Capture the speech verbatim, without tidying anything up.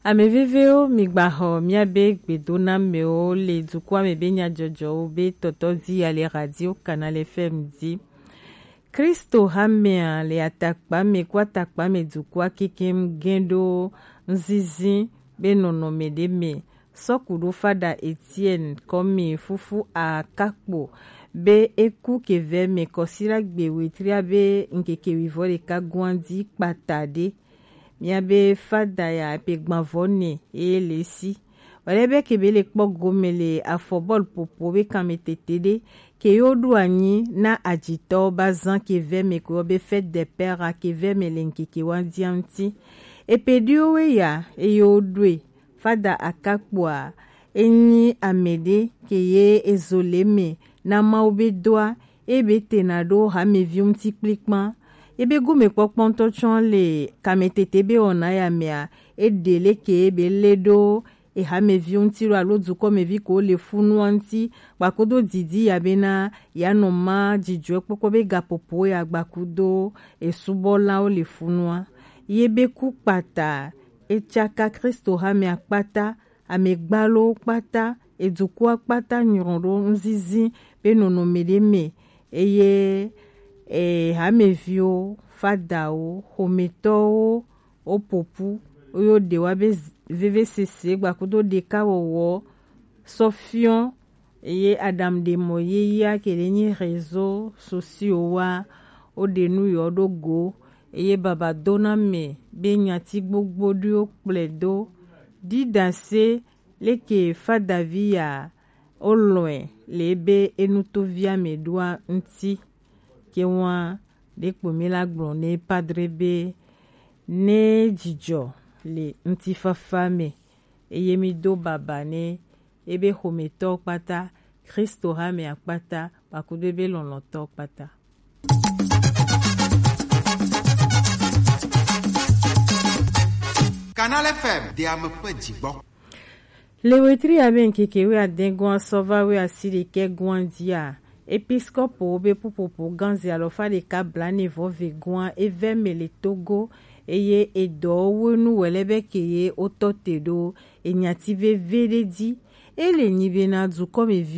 Ame vevewo, migbaxɔ miabe gbedonamewo le dukɔa me be nyajɔjɔwo be tɔtɔ dzi ya le Radio Canal F M dzi. Kristo hamea le atakpa me ku atakpa me dukɔa kekem gɛn ɖo nzinzin be nɔnɔme ɖe me. Sɔku ɖo fada Etienne kɔmi fufu akakpo be eku kevɛ me kɔsila gbe wetria be ŋkeke wivɔ ɖeka guan dzi kpata ɖe. Miabe fada ya pe gbanvɔ ne eye le si. Wale be ke be le kpɔ gome le afɔ bɔl popo be kanme tete ɖe ke yo ɖo anyi na ajitɔ ba zan ke vɛ me ko be fête des pères ke vɛ me le ŋkeke wa dia ŋuti. Epe ɖiwo we ya eye wo ɖoe. Fada akakpoa enyi ame ɖe ke ye ezo le me na Mawu be doa ebe tena ɖo hameviwo ŋuti kplikpan. Ebe gomekpɔkpɔ ŋutɔ tsɔ le kametete be wɔna ya mea, eɖe leke ebe le ɖo ehameviwo ŋuti ɖo alo dukɔmevi ko le funua ŋuti, gbakudo didi ya bena ya nɔ ma dzidzɔe kpɔkpɔ be gapopo ya gbakudo esubɔlawo le funua. Ye be ku kpata, etsaka Kristo hamea kpata, amegbalowo kpata, edukɔa kpata nyrɔ ɖo ŋzizi be nɔnɔme ɖe me, eye e, hameviwo, fadawo, xometɔwo, wo popu, wo yo ɖe wa be z- vevesese gbakudo ɖekawɔwɔ sɔ fiɔ, eye Adam ɖe mɔ yeyea ke ɖe nyi réseaux sociaux wa, wo ɖe nu yɔ ɖo go, eye baba dona me be nyati gbogbo ɖiwo kplɔe do. Didase leke fadavi ya olɔe le ebe enutovia me ɖoa ŋti. Ke wa ɖe kpo mi la gblɔ ne padre be ne dzidzɔ le ŋutifafa me, eye mi do baba ne ebe xometɔ kpata, Kristo hamea kpata, kpakudo ebe lɔlɔtɔ kpata. Canal F M de ame ƒe dzigbɔ. Le wetri ya be ŋkeke wuiadɛngɔa sɔ va wuiasiɖekɛgɔa dzia, episkopowo be ƒuƒoƒo gã ze alɔfa ɖeka blaene vɔ ve gɔa evɛ me le Togo, eye edɔwo wenu wɛlɛ be ke ye wotɔ te ɖo enyati veve ɖe dzi. Ele nyi bena dukɔmevi